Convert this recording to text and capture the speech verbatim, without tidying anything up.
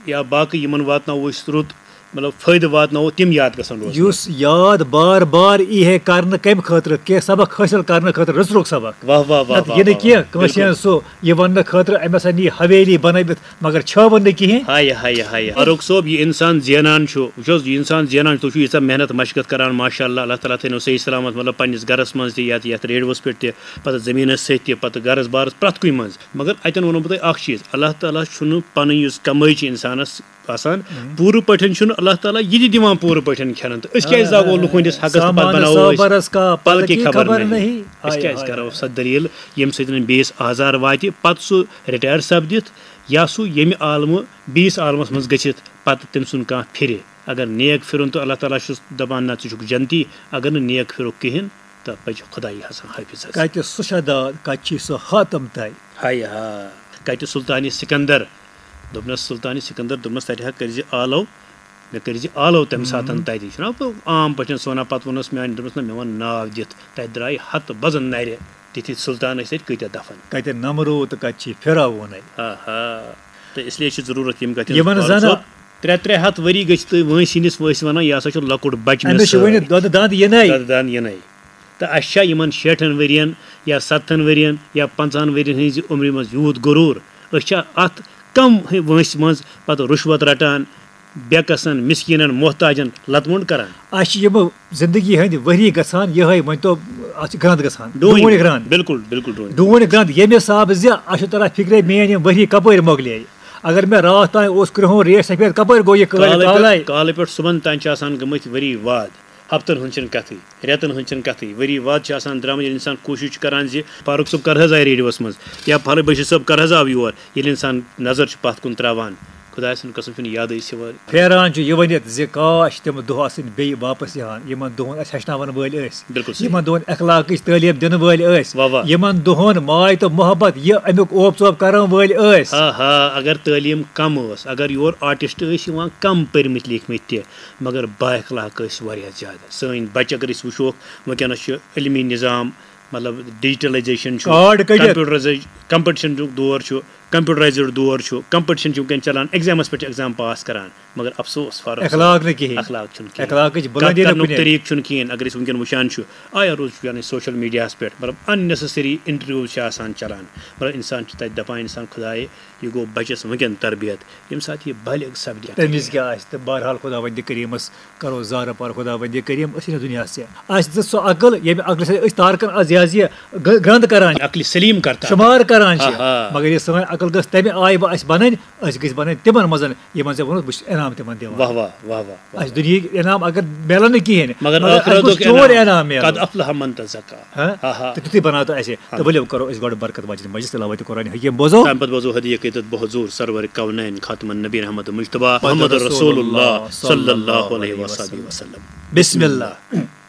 یا باقٕے یِمن واتناوو أسۍ رُت، مطلب فٲیدٕ واتناوو، تِم یاد گژھن روزٕنۍ۔ یُس یاد بار بار یی ہے کرنہٕ کمہِ خٲطرٕ؟ کینٛہہ سبق حٲصِل کرنہٕ خٲطرٕ، رٕژرُک سبق۔ واہ واہ واہ نتہٕ واہ یہِ نہٕ واہ کینٛہہ واہ۔ کٲنٛسہِ بِلکُل۔ ہٕنٛز سُہ، یہِ وننہٕ خٲطرٕ أمۍ ہسا نی حویلی بنٲوِتھ، مگر چھٲوٕن نہٕ کِہیٖنۍ۔ ہایہِ ہایہِ ہایہِ، فاروق صٲب، یہِ انسان زینان چھُ، وٕچھ حظ، یہِ انسان زینان چھُ، تُہۍ چھِو ییٖژاہ محنت مشقت کران، ماشاء اللہ، اللہ تعالیٰ تھٲینو صحیح سلامت، مطلب پننِس گرس منٛز تہِ، یتھ یتھ ریڈیوس پٮ۪ٹھ تہِ، پتہٕ زٔمیٖنس سۭتۍ تہِ، پتہٕ گرس بارس، پرٛٮ۪تھ کُنہِ منٛز۔ مگر اتٮ۪ن ونو بہٕ تۄہہِ اکھ چیٖز، اللہ تعالیٰ چھُنہٕ پنٕنۍ یُس کمٲے چھِ انسانس آسان، پوٗرٕ پٲٹھۍ چھُنہٕ اللہ تعالیٰ یہِ تہِ دِوان پوٗرٕ پٲٹھۍ کھٮ۪نہٕ۔ تہٕ أسۍ کیازِ زاگو لُکھ ہٕنٛدِس حقس تہٕ پتہٕ سامان بناوو أسۍ صبرس کا پل کی پل کی خبر خبر نہیں؟ نہیں۔ ہائے، أسۍ کیازِ ہائے، کرو ہائے۔ سۄ دٔلیٖل، ییٚمہِ سۭتۍ نہٕ بیٚیِس آزار واتہِ، پتہٕ سُہ رِٹایَر سپدِتھ یا سُہ ییٚمہِ عالمہٕ بیٚیِس عالمس منٛز گٔژھِتھ پتہٕ تٔمۍ سُنٛد کانٛہہ پھرِ؟ اگر نیک پھِرُن تہٕ اللہ تعالیٰ چھُس دپان، نہ، ژٕ چھُکھ جنتی، اگر نہٕ نیک پھِرُکھ کِہیٖنۍ، تہٕ پزِ خۄداے حسن حٲفظ حظ۔ کتہِ سُہ شداد، کتہِ چھی سُہ حاتم تہٕ؟ ہاے ہا، کتہِ سلطان سکندر؟ دوٚپنس، سلطان سکندر، دوٚپنس، تتہِ ہا کٔرۍ زِ آلو، مےٚ کٔرۍ زِ آلو تمہِ ساتن تتہِ۔ چھُنہ بہٕ عام پٲٹھۍ سُہ ونان، پتہٕ ووٚنُس میانہِ، دوٚپنس، نہ، مےٚ وَن ناو دِتھ۔ تتہِ درٛایہِ ہتہٕ بزن نرِ، تِتھۍ سلطان ٲسۍ تتہِ کۭتیاہ دفن۔ کتہِ نمروٗد تہٕ کتہِ چھی فرعونَے؟ آہا۔ تہٕ اس لیے چھِ ضروٗرت یِم کتھِ ہٕنٛز، یِمن فاروق زن صٲب۔ ترٛےٚ ترٛےٚ ہتھ ؤری گٔژھۍ تُہۍ وٲنٛسہِ ہٕنٛدِس وٲنٛسہِ ونان، یہِ ہسا چھُ لۄکُٹ بچہٕ مےٚ أمِس چھُ سۭتۍ۔ وُنہِ دۄدٕ دند یِنَے۔ دۄدٕ دند یِنَے۔ تہٕ اَسہِ چھا یِمن شیٹھن ؤرین یا ستتھن ؤرین یا پنٛژاہن ؤرین ہٕنٛزِ عمرِ منٛز یوٗت غروٗر؟ أسۍ چھا اتھ کم وٲنٛسہِ منٛز پتہٕ رُشوت رٹان، بے کسن، مسکیٖنن، محتاجن لتہٕ مۄنڈ کران؟ اَسہِ چھِ یِم زندگی ہٕنٛدۍ ؤری گژھان یِہے، وۄنۍ تو اَتھ چھِ گرٛنٛد گژھان، ڈوٗنۍ۔ ڈوٗنۍ گرٛنٛد۔ بِلکُل، بِلکُل ڈوٗنۍ۔ ڈوٗنۍ گرٛنٛد ییٚمہِ حسابہٕ زِ اَسہِ چھُ تران فِکرے، میٛٲنۍ یِم ؤری کپٲرۍ مۄکلے۔ اگر مےٚ راتھ تام اوس کرٛہُن ریش سفید، کپٲرۍ گوٚو یہِ کالہٕ کالے؟ پٮ۪ٹھ، کالہٕ پٮ۪ٹھ صُبحن تام چھِ آسان گٔمٕتۍ ؤری واد، ہفتن ہٕنٛز چھَنہٕ کتھٕے، رٮ۪تن ہٕنٛز چھَنہٕ کتھٕے، ؤری واد چھِ آسان درٛامٕتۍ۔ ییٚلہِ انسان کوٗشِش چھُ کران زِ فاروق صٲب کر حظ آیہِ ریڈیوس منٛز یا فلٲنۍ بشیٖر صٲب کر حظ آو یور، ییٚلہِ انسان نظر چھُ پتھ کُن تراوان، خۄداے سُنٛد قسم، چھُنہٕ یادٕے سِوٲرۍ۔ پھیران چھُ یہِ ؤنِتھ زِ کاش تِم دۄہ آسٕنۍ بیٚیہِ واپس یِوان، یِمن دۄہن اَسہِ ہیٚچھناوَن وٲلۍ ٲسۍ، بِلکُل صحیح۔ یِمن دۄہن اخلاقٕچ تعلیٖم دِنہٕ وٲلۍ ٲسۍ، واہ واہ۔ یِمن دۄہن ماے تہٕ محبت یہِ اَمیُک اوپ ژوپ کرن وٲلۍ ٲسۍ۔ آ ہا، اگر تعلیٖم کم ٲس، اگر یور آرٹسٹ ٲسۍ یِوان کم پٔرمٕتۍ لیٖکھمٕتۍ تہِ، مگر با اخلاق ٲسۍ واریاہ زیادٕ۔ سٲنۍ بچہِ اگر أسۍ وٕچھوکھ، وٕنکیٚنس چھُ علمی نظام، مطلب ڈیجیٹلائزیشن چھُ، کارڈ کٔڑِتھ۔ کمپیوٹرائزیشن، کمپٹیشن دور چھُ، کمپیوٹرائزڈ دور چھُ، کمپٹیشن چھُ وٕنکیٚن چلان، ایگزامس پٮ۪ٹھ چھِ ایگزام پاس کران، مگر افسوس فاروق صٲب، اخلاق نہٕ کِہیٖنۍ۔ اخلاق چھُنہٕ کِہیٖنۍ۔ اخلاقٕچ کتھ بلندی نہٕ کرنُک کُنے۔ طریٖقہٕ چھُنہٕ کِہیٖنۍ۔ اگر أسۍ وٕنکیٚن وٕچھان چھُ، آیا روز چھُ یعنی سوشل میڈیاہس پٮ۪ٹھ، مطلب، unnecessary interviews چھِ آسان چلان، مطلب، انسان چھُ تتہِ دپان، انسان، خدایے، یہِ گوٚو بچس وٕنکیٚن تربیت، ییٚمہِ ساتہٕ یہِ بالغ سپدِ۔ تَمہِ وِزِ کیٛاہ آسہِ؟ تہٕ بہرحال خداوندِ کریٖمس کرو زارٕ پار، خداوندِ کریم، أسۍ چھِنہٕ دُنیاہس ژےٚ۔ اَسہِ دِژ سۄ عقل، ییٚمہِ عقلہِ سۭتۍ أسۍ تارکن از یہِ حظ یہِ گ-، گرٛنٛد کران چھِ، عقلِ سلیم کرتا۔ شُمار کران چھِ۔ آہا۔ مگر یہِ سٲنۍ عقل گٔژھ تَمہِ آیہِ وۄنۍ اَسہِ بنٕنۍ، أسۍ گٔژھۍ بنٕنۍ تِمن منٛز، یِمن ژےٚ ووٚنُتھ، بہٕ چھُس انعام تِمن دِوان۔ واہ واہ، واہ واہ، واہ۔ اَسہِ دُنیہِکۍ انعام اگر میلن نہٕ کِہیٖنۍ، مگر مگر اَسہِ ٲخرتُک گوٚژھ چون انعام۔ انعام میلُن۔ قد افلح من تزکا۔ ہاں؟ آہا۔ تہٕ تِتھُے بناو تہٕ اَسہِ۔ تہٕ ؤلِو کرو أسۍ گۄڈٕ برکت واجنہِ مجلس تلاوت قرآن حکیم بوزو۔ تَمہِ پتہٕ بوزو ہدیہ عقیدت بحضور سرور کونین خاتم النبین احمد مجتبیٰ محمد محمد رسول رسول اللہ اللہ صلی اللہ صلی اللہ علیہ علیہ وسلم۔ وسلم۔ بسم اللہ۔